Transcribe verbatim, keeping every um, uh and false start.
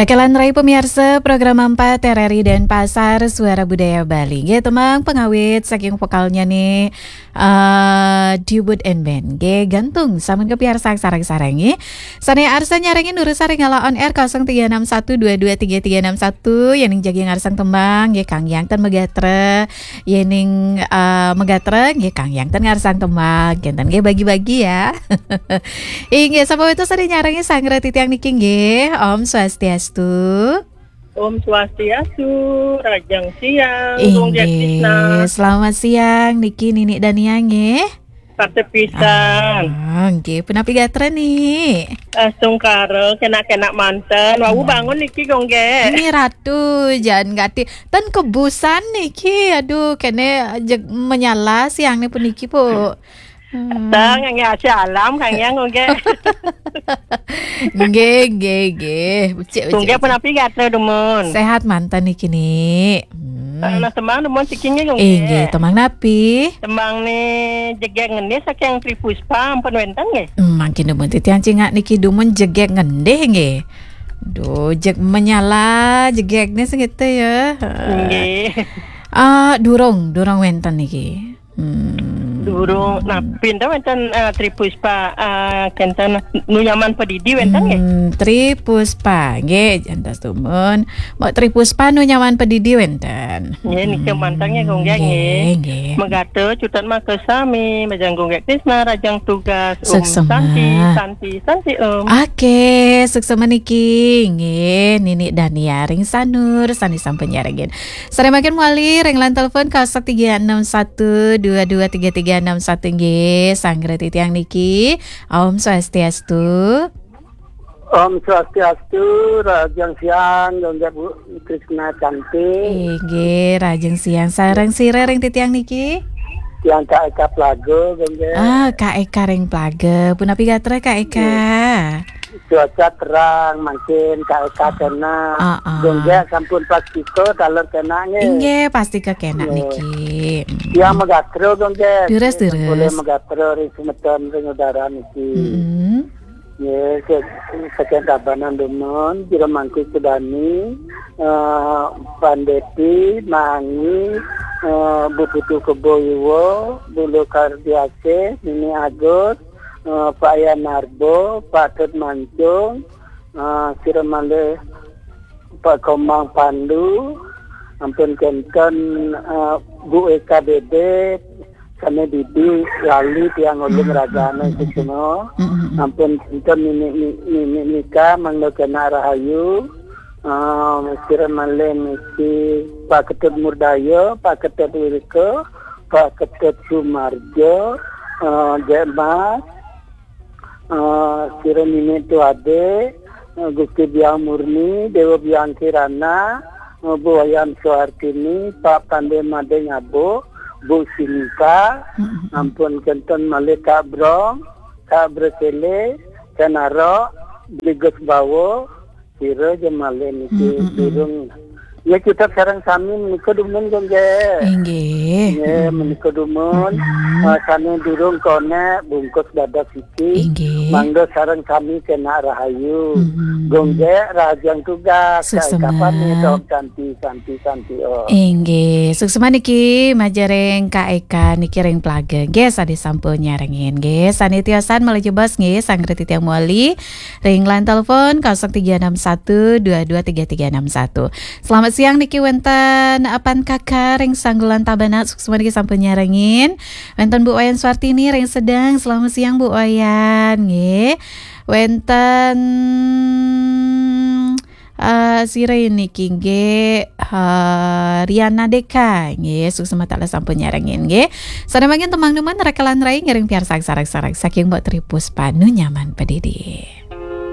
Raka lan rai pamiarsa program empat R R I Denpasar, Suara Budaya Bali. Nggih, tembang pangawit saking vokalnya nih, eh, Dubut and Band. Nggih, gantung sampun kapiarsa sareng-sareng nggih. Sané arsa nyarengin durus ring ala on air kosong tiga enam satu dua dua tiga tiga enam satu, yéning jagi ngarsang tembang nggih, kanggiang ten magatra, yéning, eh, magatra nggih, kanggiang ten ngarsang tembang, kénten nggih, bagi-bagi ya. Inggih, sampun wénten sané nyarengin sareng titiang niki nggih. Om Swastiastu. Om Swastiastu, rahajeng siang, Gung Inggih, Jatisna. Selamat siang niki Nini Dania nggih. Patih pisan. Ah, nggih, punapi gatra nih? Astungkara, kenak-kenak manten. Wau Hmm. bangun niki, Gung, nggih. Ini Ratu, jangan gati. Ten kebusan niki, aduh, kene jeg menyala siang nih puniki, Bu. Hmm. Teng, nggih, asih alam, Kang Yang, Gung, nggih. Nggih, nggih, nggih. Becik, becik, Gung, nggih, becik. Punapi gatra dumun? Sehat manten niki, Nik. Hmm. Nah, tembang dumun siki nggih, Gung, Inggih, nggih. Tembang napi? Tembang nih jegég ngendih saking Tri Puspa, ampun wénten nggih? Hmm, mangkin dumun titiang cingak niki dumun jegég ngendih nggih. Duh, jeg menyala jegég nih sing gitu ya. Heeh. Nggih. Ah, durung, durung wénten niki. Hmm. Durung, nah, pinten wénten, eh, Tri Puspa, eh, kénten Nu Nyaman Padidi wénten nggih? Hmm, Tri Puspa nggih, jantos dumun. Mbok Tri Puspa Nu Nyaman Padidi wénten. Nggih, nika Hmm, manten nggih, Gung, nggih. Nggih, nggih. Magatra cutet maka sami, majeng Gung Tisna, rahajeng tugas. Om Suksema. Santi, Santi, Santi, Om. Oke, suksema niki. Nggih, Nini Dania ring Sanur, sami sampun nyarengin. Sareng mangkin malih ring line telepon kosong tiga enam satu dua dua tiga tiga enam satu nggih, sareng titiang niki. Om Swastiastu. Om Swastiastu, rahajeng siang, Gung, nggih, Bu Krisna Cantik. Inggih, rahajeng siang. Sareng sira ring titiang niki? Tiang Kak Eka Plaga, Gung, nggih. Ah, Kak Eka ring Plaga. Punapi gatra, Kak Eka? Nggih. Cuaca terang, mangkin Kak Eka kena. Ah, ah. Gung, nggih, sampun pastika taler kena nggih. Inggih, pastika kena Nggih. niki. Mm. Tiang magatra, Gung, nggih. Durus, Nggih, sampun durus. Magatra ring semeton ring udara niki. Mm-mm. Nggih, se-, saking Tabanan dumun, jero mangku Sudani, eh, Pandeti, Mangi, eh, Bu Putu Kebo Iwa, Bulu Kardiasih, Nini Agus, eh, Pak Yanarbo, Pak Tut Mancung, eh, sira malih Pak Komang Pandu, ampun kénten, eh, Bu Eka Dede, sané Didi, lali tiang ulun Hmm, ragane hmm, hmm, hmm. Suksma. Hmm, hmm, hmm. Ampun kénten nini, ni-, nini nika mangda kena rahayu. Eh, sira malih niki Pak Ketut Murdaya, Pak Ketut Wirika, Pak Ketut Sumarjo, eh, Jek Mas, eh, sira nini Tuade, eh, Gusti Biang Murni, Dewa Biang Kirana, eh, Bu Wayan Suartini, Pak Pande Made Ngabo, Bu Sinta, Mm-mm. ampun kénten malih Kak Brong, Kak Brekele, Kak Narok, Bligus Bawo, sira ja malih niki Mm-mm. durung. Ya, kita sareng sami menika dumun, Gung, nggih. Inggih. Nggih, Mm-mm. menika dumun. Mm-mm. Eh, sané durung konek bungkus dados siki. Inggih. Mangda sareng sami kena rahayu. Mm-mm. Gung, nggih, rahajeng tugas. Suksema. Kapan nih, Om Santi, Santi, Santi, Om. Inggih, suksema niki majeng ring Kak Eka niki ring Plaga. Nggih, sané sampun nyarengin. Nggih, sané tiosan malih jebos nggih, sareng titiang malih ring line telepon kosong tiga enam satu dua dua tiga tiga enam satu. Selamat siang niki wénten Apan Kaka ring Sanggulan Tabanan, suksema niki sampun nyarengin. Wénten Bu Wayan Suartini ring Sedeng, selamat siang Bu Wayan, nggih. Wénten, eh, sira niki nggih, eh, Riana Deka, nggih, suksema taler sampun nyarengin, nggih. Sané mangkin tembang dumun raka lan rai ngiring piarsang sareng-sareng saking Mbok Tri Puspa Nu Nyaman Padidi.